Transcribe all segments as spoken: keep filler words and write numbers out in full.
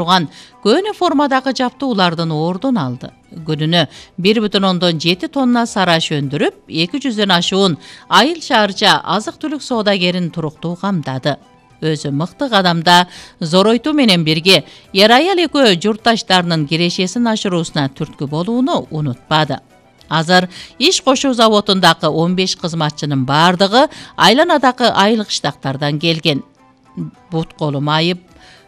турган көөнө формадагы жаптуулардын ордун алды. Күнүнө бир бүтүн ондон жети тонна сараш өндүрүп, эки жүздөн ашуун айыл шаарча азык-түлүк соодагерин туруктуу камдады. Өзү мыкты кадамда Зоройтуу менен бирге Ер-аял экөө журтташтарынын кирешесин ашыруусуна түрткү болууну унутпады. Азыр иш кошуу заводундагы он беш кызматчынын бардыгы айланадагы айыл кыштактардан келген. Бут колу майып,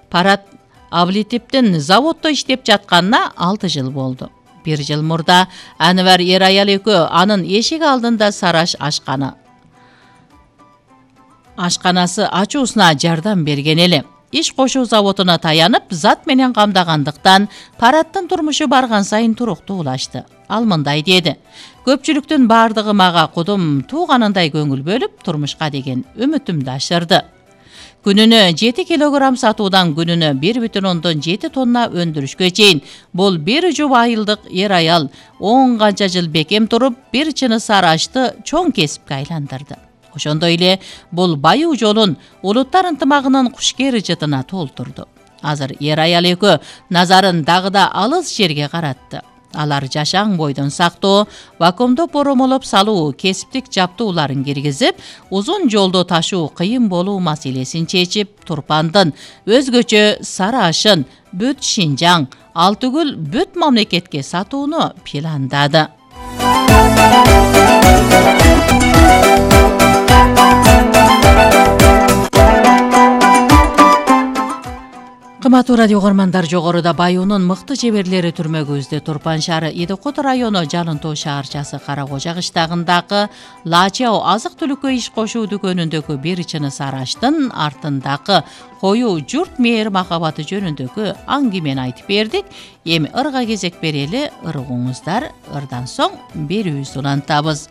Парат Аблитиптин заводдо иштеп жатканына алты жыл болду. Бир жыл мурда Анвар Ер-аял экөө анын эшик алдында сараш ашканы ашканасы ачуусуна жардам берген эле. Иш кошуу заводуна таянып, зат менен камдагандыктан Параттын турмушу барган сайын туруктуулашты. Ал мындай деди: көпчүлүктүн бардыгы мага кудум тууганындай көңүл бөлүп, турмушка деген үмүтүмдү ашырды. Күнүнө жети килограмм сатуудан күнүнө бир бүтүн ондон жети тонна өндүрүшкө чейин бул бир жуп айылдык ер-аял он канча жыл бекем туруп, бир чыны сарашты чоң кесипке айландырды. Ошондой эле бул баюу жолун улуттар ынтымагынын кушкер жытына толтурду. Азыр Ер-аял экөө назарын дагы да алыс жерге каратты. Алар жашаң бойдон сактоо, вакуумдоп боромолоп салуу кесиптик жаптууларын киргизип, узун жолду ташуу кыйын болуу маселесин чечип, Турпандын өзгөчө сары ашын бүт Шинжаң, ал түгүл бүт мамлекетке сатууну пландады. Кымбаттуу радио көрөрмандар, жогоруда Баюунун мыкты жеберлери түрмөгүбүздө Турпан шаары Идикут району Жалын Тоо шаарчасы Кара Кожа кыштагындагы Лачао азык-түлүккө иш кошуу дүкөнүндөгү бир чыны сараштын артындагы коюу журт мээр махабаты жөнүндөгү аңгемени айтып бердик. Эми ырга кезек берели, ыргыңыздар. Ырдан соң берүүбүздү улантабыз.